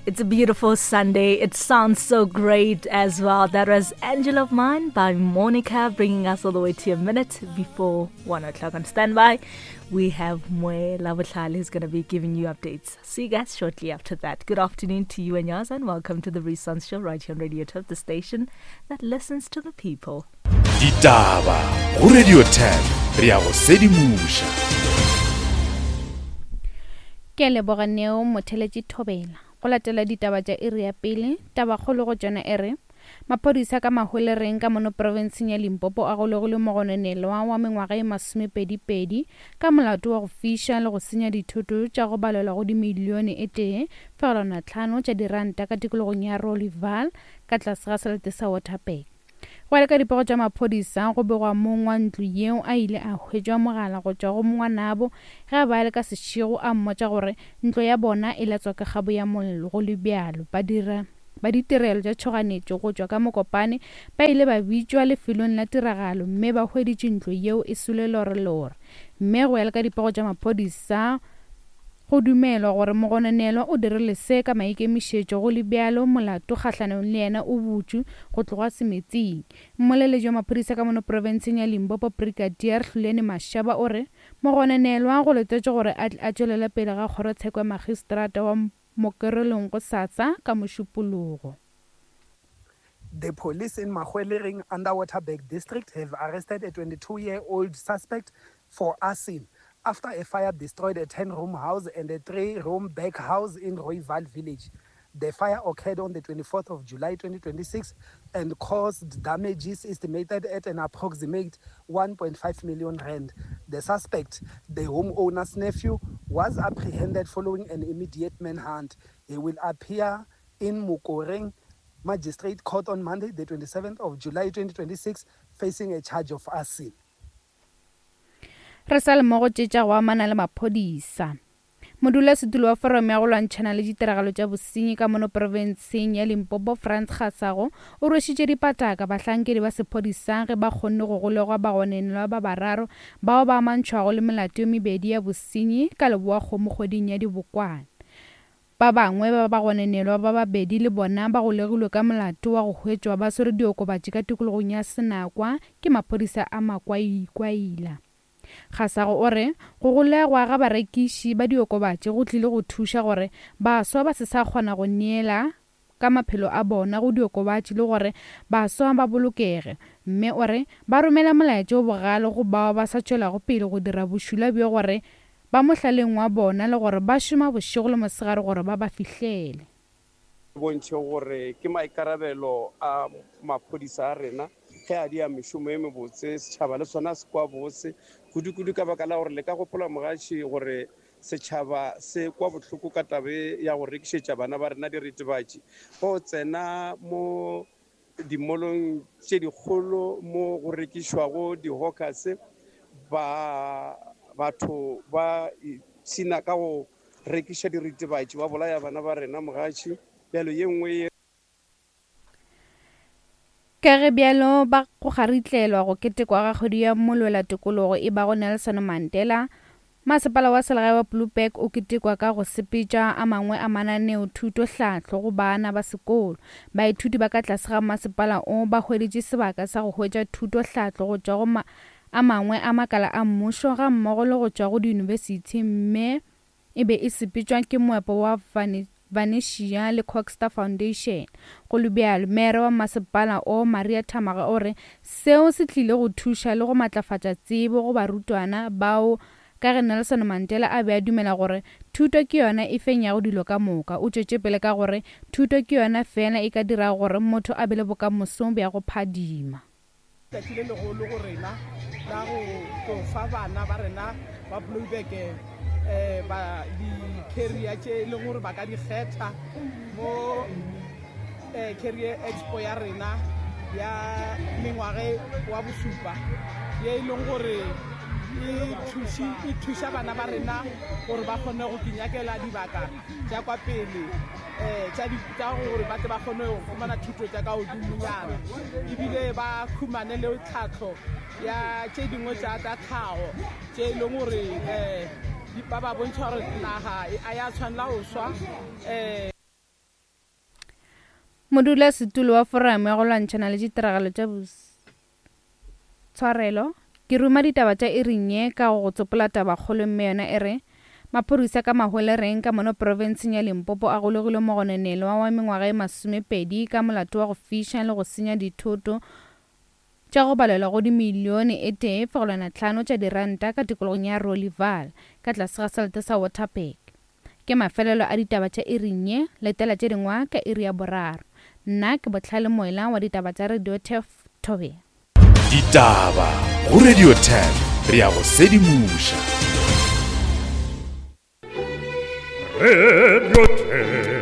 It's a beautiful Sunday. It sounds so great as well. That was Angel of Mine by Monica, bringing us all the way to a minute before 1 o'clock. On standby, we have Mwe Lavotlali who's going to be giving you updates. See you guys shortly after that. Good afternoon to you and yours, and welcome to the Renaissance Show right here on Radio 12, the station that listens to the people. Ditaba go Radio 10 re ya go sedimoša. Ke a leboga Neo Motheletši Thobela. Go latela ditaba tša iri ya pele, tabakgolo go tšona e re, Maphodisa ka Mahwelereng ka mono profenseng ya Limpopo a golegile mogononelwa wa mengwaga e masomepedipedi ka molato wa go fiša le go senya dithoto tša go balelwa go dimilione e tee fegelwana tlhano tša diranta ka tikologong ya Rolival ka tlase ga selete sa Waterberg. Go ya le ka dipego tša maphodisa, go begwa mong wa ntlo yeo a ile a hwetšwa mogala go tšwa go ngwanabo ge a be a le ka sešego a mmotša gore ntlo ya bona e latswa ka kgabo ya mollo. Go le bjalo, badira ba ditirelo tša tšhoganetšo go tšwa ka Mokopane ba ile ba bitšwa lefelong la tiragalo mme ba hweditše ntlo yeo e swele lorelore. Mme go ya le ka dipego tša maphodisa, Go dumelwa gore mogononelwa o dirile se ka maikemišetšo, go le bjalo molato kgahlanong le yena o butšwe go tloga semetsing. Mmoleledi wa maphodisa ka mono profenseng ya Limpopo Brigadier Hluleni Mashaba o re mogononelwa go letetšwe gore a tle a tšwelele pele ga kgorotsheko ya magistrata wa Mokerelong gosasa ka Mošupologo. The police in Mahwelereng under Waterberg district have arrested a 22-year-old suspect for arson after a fire destroyed a 10-room house and a 3-room back house in Royval village. The fire occurred on the 24th of July 2026 and caused damages estimated at an approximate 1.5 million rand. The suspect, the homeowner's nephew, was apprehended following an immediate manhunt. He will appear in Mokoreng Magistrate Court on Monday, the 27th of July 2026, facing a charge of arson. Re sa le mo go tše tša go amana le maphodisa. Modulasetulo wa Forum ya go lwantšhana le ditiragalo tša bosenyi ka mono profenseng ya Limpopo Frans Kgasago o rwešitše dipataka bahlankedi ba sephodisa ge ba kgonne go golegwa bagonenelwa ba bararo bao ba amantšhwago le melato ye mebedi ya bosenyi ka Leboakgomo kgweding ya Dibokwane. Ba bangwe ba bagonenelwa ba babedi le bona ba golegilwe ka molato wa go hwetšwa ba swere diokobatši ka tikologong ya Senakwa ke maphodisa a Makwaikwaila. Kgasago o re go golegwa ga barekiši ba diokobatši go tlile go thuša gore baswa ba se sa kgona go neela ka maphelo a bona go diokobatši le gore baswa ba bolokege mme o re ba romela molaetša o bogale go bao ba sa tšwelago pele go dira bošula bjo gore Ba mohlaleng wa bona le gore ba šoma bošego le mosegare gore ba ba fihlele. Bontšhe gore ke maikarabelo a maphodisa a rena ge a dia mešomo e mebotse, setšhaba le sona se kwa bose, kudu-kudu ka baka la gore le ka gopola mogaši gore setšhaba se kwa bohloko ka taba e ya go rekišetša bana ba rena diritibatši. Go tsena mo dimolong tše dikgolo mo go rekišwago di-hawkers, ba batho ba ipshina ka go rekiša diritibatši, ba bolaya bana ba rena mogatši. Bjalo ye nngwe ye. Ka ge bjalo ba go kgaritlelwa go ketekwa ga kgwedi ya molwela tokologo e bago Nelson Mandela, Masepala wa selegae wa Blouberg o ketekwa ka go sepetša a mangwe a mananeo thuto-hlahlo go bana ba sekolo. Baithuti ba ka tlase ga masepala o ba hweditše sebaka sa go hwetša thuto-hlahlo go tšwa go a mangwe a makala a mmušo gammogo le go tšwa go diyunibesithi mme e be e sepetšwa ke moepo wa Vanetia le Coxter Foundation. Go le bjalo, Meere wa masepala o, Maria Thamaga o re seo se tlile go thuša le go matlafatša tsebo go barutwana bao ka ge Nelson Mandela a be a dumela gore thuto ke yona e fenyago dilo ka moka. O tšwetše pele ka gore thuto ke yona feela e ka dirago gore motho a be le bokamoso bja go phadima. Tšatši le legolo go rena la go tlo fa bana ba rena ba Blouberg um ba di-carrier tše e leng gore ba ka di kgetha mo um Carrier Expo ya rena ya mengwage wa bosupa ye e leng gore e thuši e thuša bana ba rena gore ba kgone go kinyakela dibaka tša kwa pele um tša gore ba tle ba kgone go humana thuto tša ka godimonyana ebile ba humane le tlhahlo ya tše dingwe tša tša tlhago tše e leng gore um ba ba bontšha gore naga a ya tshwanela go swa um. Modulasetulo wa Foramo ya go Lwantšhana le Ditiragalo tša Tshwarelo, Ke ruma ditaba tša iring ye ka go go tsopola tabakgolo mme yona e re, Maphodisa ka Mahwelereng ka mono profenseng ya Limpopo a golegile mogononelwa wa mengwaga e masomepedi ka molato wa go fiša le go senya dithoto tša go balelwa go dimilione e tee fegelwana tlhano tša diranta ka tikologong ya Rollival ka tlase ga selete sa Waterberg. Ke mafelelo a ditaba tša iring ye, letela tše dingwa ka iri ya boraro. Nna ke Bohlale Moela wa ditaba tša Radio Turf Thobela. Ditaba go Radio 10 re ya go sedimoša. Radio 10.